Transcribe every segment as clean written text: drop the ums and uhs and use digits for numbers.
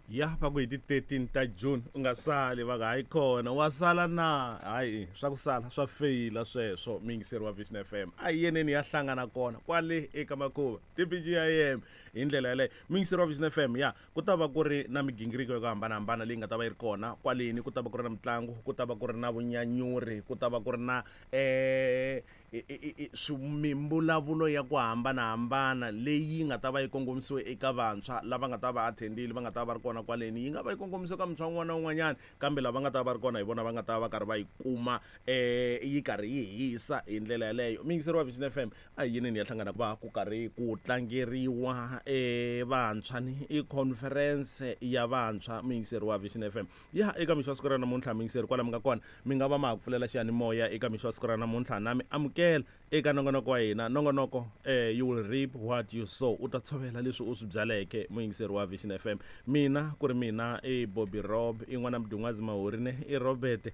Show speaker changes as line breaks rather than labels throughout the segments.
Ya va ku hi ti 13 ta June u nga sali, va ku hayi kona wa sala na hayi swa ku sala swa feyila sweswo. Muyingiseri wa Vision FM, a hi yeneni ya hlangana kona kwale eka makhuva TPGIM hi ndlela yaleyo. Muyingiseri wa Vision FM, ya ku ta va ku ri na migingiriko yo hambanahambana leyi nga ta va yi ri kona kwaleni. Ku ta va ku ri na mitlangu, ku ta va ku ri na vunyanyuri, ku ta va ku ri na mimbulavulo ya ku hambanahambana leyi nga ta va yi kongomisiwe eka vantshwa lava nga ta va attendile, va nga ta va ri kona kwaleni. Yi nga va yi kongomisiwe ka muntshwa un'wana na un'wanyana, kambe lava nga ta va ri kona hi vona va nga ta va karhi va yi kuma yi karhi yi hisa hi ndlela yaleyo. Muyingiseri wa Vision FM, a hi yinini ya hlangana va ku karhi ku tlangeriwa vantshwa ni i conference ya vantshwa. Muyingiseri wa Vision FM, ya eka mixo wa siku ra namuntlha, muyingiseri, kwala mi nga kona, mi nga va ma ha ku pfulela xiyanimoya eka mixo wa siku ra namuntlha, na mi amukela eka nongonoko wa hina. Nongonoko "You Will Reap What You Sow", u ta tshovela leswi u swi byaleke. Muyingiseri wa Vision FM, mina ku ri mina i Bobby Rob, i n'wana Mdun'wazi Mahori ne i Robert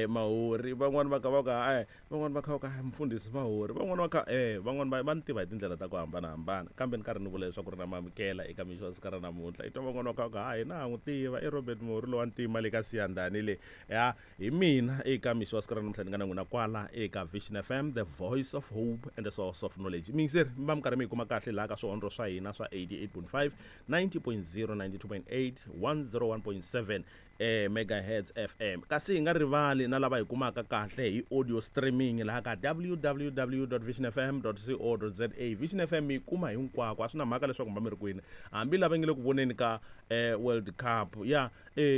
Mahori. Van'wani va ka va ka van'wani va kha va ka mfundhisi Mahori, van'wani va kha van'wani va ni tiva hi tindlela ta ku hambanahambana, kambe ni karhi ni vula leswaku ri na mamukela eka mixo wa siku ra namuntlha. I twa van'wani va kha va ka ha hina ha n'wi tiva i Robert Mahori lowa ntima le ka Siyandhani le. Ya hi mina eka mixo wa siku ra namuntlha ni nga na n'wina kwala eka Vision FM, the voice of hope and the source of knowledge. Miyingiseri, mi va mi karhi mi yi kuma kahle laha ka swihondlo swa hina swa 88.5, 90.0, 92.8, 101.7 megahertz FM, kasi hi nga rivali na lava hi kumaka kahle hi audio streaming laha ka www.visionfm.co.za. Vision FM mi yi kuma hinkwako, a swi na mhaka leswaku mi va mi ri kwini, hambi lava nge le ku voneni ka World Cup ya